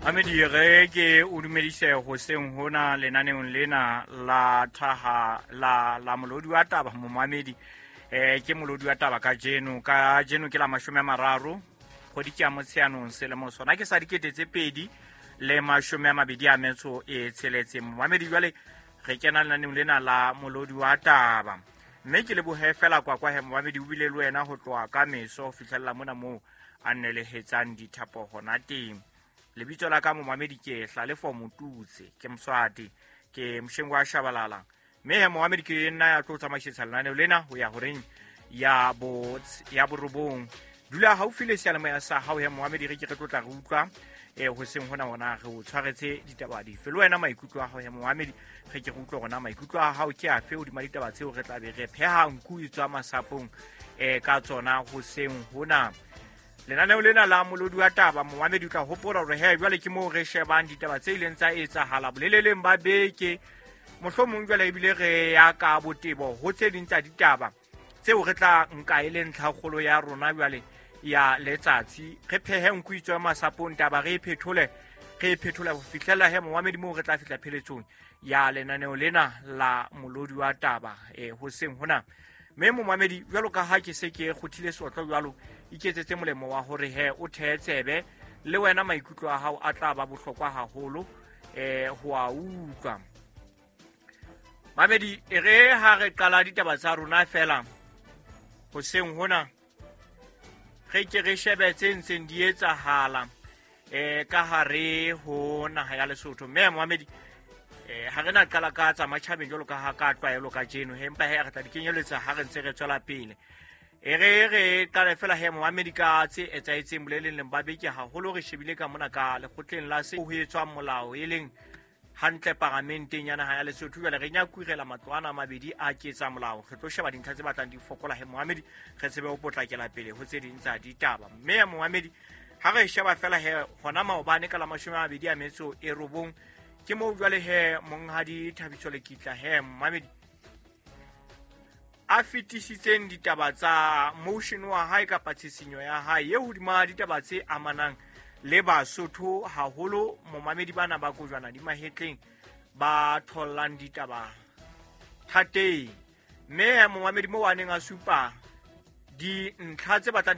Mamedi, re ke o dumedise hoseng hona lenaneong lena la thaha la molodi wa taba. Momamedi, ke molodi wa taba kajeno. Kajeno ke la 30 kgwedi ke ya Motsheanong, selemo sona ke sa 2026. Momamedi, jwale re kena lenaneong lena la molodi wa taba, mme ke lebohe fela kwa kwa he momamedi o bile le wena ho tloha ka meso ho fihlella mona moo a nnelehetsang dithapo hona teng. Lebitso la ka, momamedi, ke Hlalefo Motutse, ke Moswati, ke Moshengo wa Shabalala, mme he momamedi ke nna ya tlo tsamaisetsa lenaneo lena ho ya horeng ya 9. Dula haufi le seyalemoya sa hao he momamedi, re ke re tlotla re utlwa hoseng hona hona re o tshwaretse ditaba dife. Le wena maikutlo a hao he momamedi, re ke re utlwe gona maikutlo a hao ke afe hodima ditaba tseo re tla be re pheha nku e tswa masapong ka tsona hoseng hona. Lenaneo lena la molodi wa taba, momamedi, o tla hopola hore he jwale ke moo re shebang ditaba tse ileng tsa etsahala boleleleng ba beke, mohlomong jwale ebile re ya ka botebo ho tse ding tsa ditaba tseo re tla nka e le ntlhakgolo ya rona jwale ya letsatsi. Re phehe nku itswe masapong, taba re e phethole, re e phethole ho fihlela he momamedi moo re tla fihla pheletsong ya lenaneo lena la molodi wa taba hoseng hona. Mme momamedi, jwalo ka ha ke se ke kgothile seotlo jwalo, iketsetse molemo wa hore he o thee tsebe, le wena maikutlo a hao a tla ba bohlokwa haholo ho a utlwa. Mamedi, e re ha re qala ditaba tsa rona fela hoseng hona, re ke re shebe tse ntseng di etsahala ka hare ho naha ya Lesotho. Mme momamedi, ha re na qala ka tsa matjhabeng jwalo ka ha ka tlwaelo kajeno he, empa he re tla di kenyeletsa ha re ntse re tswela pele. E re re qale fela he momamedi ka tse etsahetseng boleleng ba beke, haholo re shebile ka mona ka lekgotleng la se ho etswang molao, e leng hantle paramenteng ya naha ya Lesotho. Jwale re nyakurela matlo ana a mabedi a ketsa molao, re tlo sheba dintlha tse batlang di fokola he momamedi, re tsebe ho potlakela pele ho tse ding tsa ditaba. Mme ya momamedi, ha re sheba fela he hona maobane ka la 29, ke moo jwale he monghadi Thabiso Lekitla he momamedi a fetisitseng ditaba tsa motion wa hae kapa tshisinyo ya hae ye hodima ditaba tse amanang le Basotho haholo, momamedi, bana ba kojwana di mahetleng ba thollang ditaba thateng. Mme momamedi, mo a neng a supa dintlha tse batlang di